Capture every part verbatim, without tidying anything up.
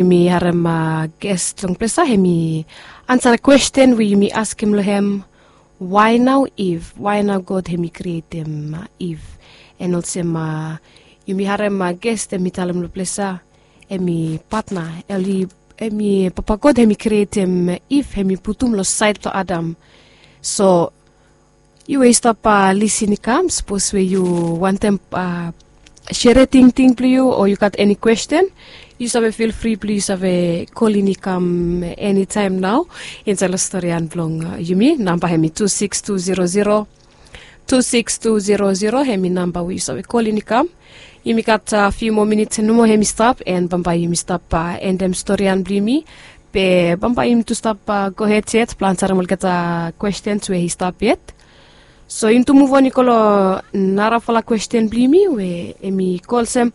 Yumi harem ges long ples ya, hemi ansa kwesten we yumi askem long hem, wae nao Iv? Wae nao God hemi krietem Iv? An olsem yumi harem ges hemi talem long ples ya, hemi patna, hemi Papa God hemi krietem Iv, hemi putum long saed blong Adam. So yu we yu stap lisin i kam, sapos we yu wantem sere tingting blong yu o yu gat eni kwesten, yu save fil fri blong yu save kolin i kam enitaem nao insaed long storian blong yumi. Namba hemi tu sikis tu zero zero, tu sikis tu zero zero, hemi namba we yu save kolin i kam. Yumi gat fiu moa minit nomo hemi stap, an bambae yumi stap endem storian blong yumi. Be bambae yumi tu stap gohed yet blong ansarem olgeta kwestens we i stap yet. So yumi tu muv on i go long narafala kwesten blong yumi we hemi go olsem,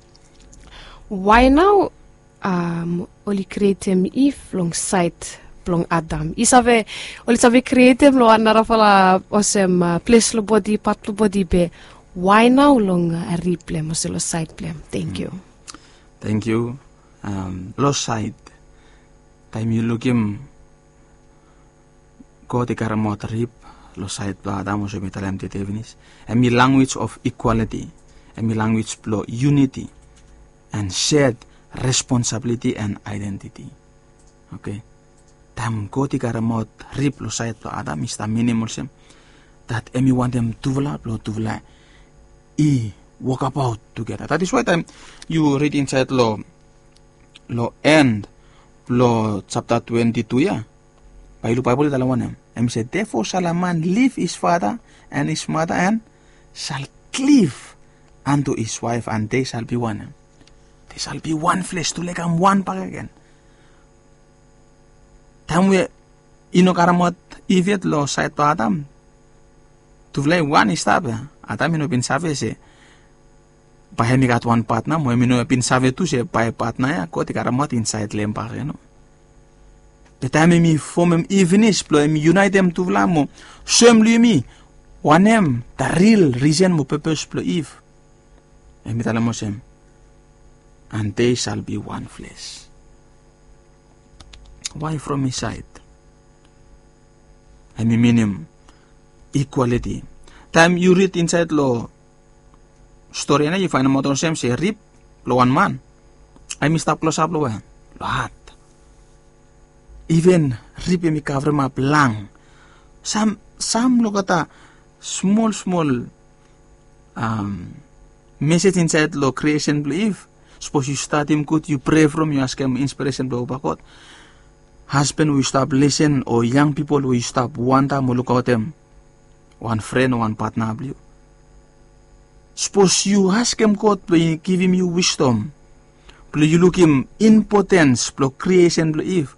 wae nao oli krietem Iv long saed blong Adam? I save, oli save krietem long wan narafala olsem ples long bodi, pat blong bodi, be wae nao long rib blong hem olsem long saed blong hem? Tangkiu. Tangkiu. Long saed, taem yu lukim God i karemaot rib long saed blong Adam, olsem mi talem tede finis, hemi language of equality, hemi language blong unity, an shared responsibility an identity. Oke. Taem God i karemaot rib long saed blong Adam, i stap minim olsem dat hemi wantem tufala blong tufala i wokabaot tugeta. That is why taem yu rid insaed long, long en blong japta twenti tu ya, bae yu luk Baebol i talem wanem. Hemi se, therefore shall a man leave his father and his mother and shall cleave unto his wife, and they shall be one. They shall be one flesh, tufala i kam wan bakegen. Taem we i no karemaot Iv yet long saed blong Adam, tufala i wan i stap ya. Adam i no bin save se bae hemi gat wan patna, mo hemi no bin save tu se bae patna ya God i karemaot insaed long hem bakegen. Be taem hemi fomem Iv finis blong hemi yunaetem tufala mo soem long yumi wanem the real reason mo purpose blong Iv. Hemi talem olsem, and they shall be one flesh. Wae from his side? Hemi minim equality. Taem yu rid insaed long storian ya, yu faenemaot olsem se rib blong wan man hemi stap klosap long wae? Long hat. Iven rib hemi kavremap lang. Sam, sam long olgeta smol smol mesej insaed long kriesen blong Iv. Sapos yu stadim gud, yu prea from, yu askem inspiresen blong Papa God. Hasban we yu stap lisen o yang pipol we yu stap wantem o lukaotem wan fren o wan patna blong yu, sapos yu askem God blong i givim yu wisdom blong yu lukim impotens blong kriesen blong Iv,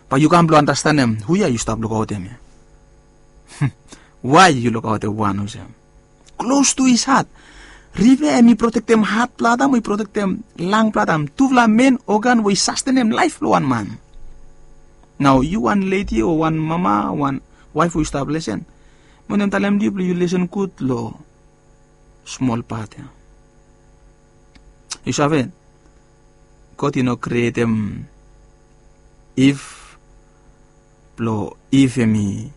bae yu kam blong andastanem hu ya yu stap lukaotem ya. Wae yu lukaotem wan olsem? Klos tu his hat. Rib ya hemi protektem hat blong Adam, i protektem lang blong Adam, tufala men ogan we i sastenem laef blong wan man. Nao yu wan ledi o wan mama, wan waef we yu stap lisen, mi wantem talem long yu blong yu lisen gud long smol pat ya. Yu save, God i no krietem Iv blong Iv hemi,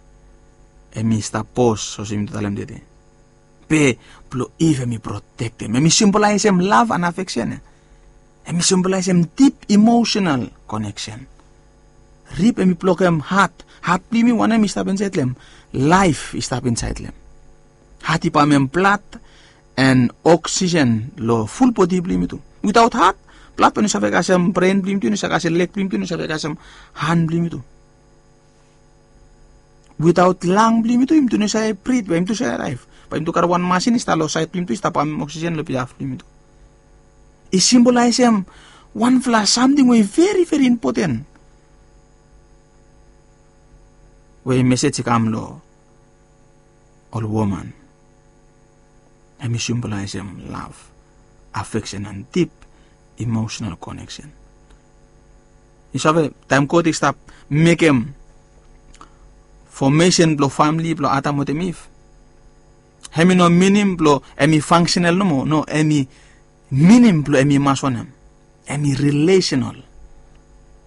hemi stap bos olsem mi talem tede. Be blong Iv hemi protektem, hemi simbolaesem lav an afeksen ya. Hemi simbolaesem dip emosenal koneksen. Rib hemi blokem hat. Hat blong yumi wanem i stap insaed long hem? Laef i stap insaed long hem. Hat i pamem blad an oksisen long ful bodi blong yumi tu. Witaot hat, blad bae i no save kasem bren blong yumi tu, i no save kasem leg blong yumi tu, i no save kasem han blong yumi tu. Witaot lang blong yumi tu, yumi tu no save brit, bae yumi tu save laef. Bae yumi tu karem wan masin i stap long saed blong yumi tu, i stap pamem oksisen long bihaf blong yumi tu. I simbolaesem wanfala samting we i veri veri impoten we mesej i kam long ol woman. Hemi simbolaesem lav, afeksen an dip emosenal koneksen. Yu save, taem God i stap mekem fomesen blong famle blong Adam wetem Iv, hemi no minim blong hemi fangsenal nomo. No, hemi minim blong hemi mas wanem? Hemi rilesenal.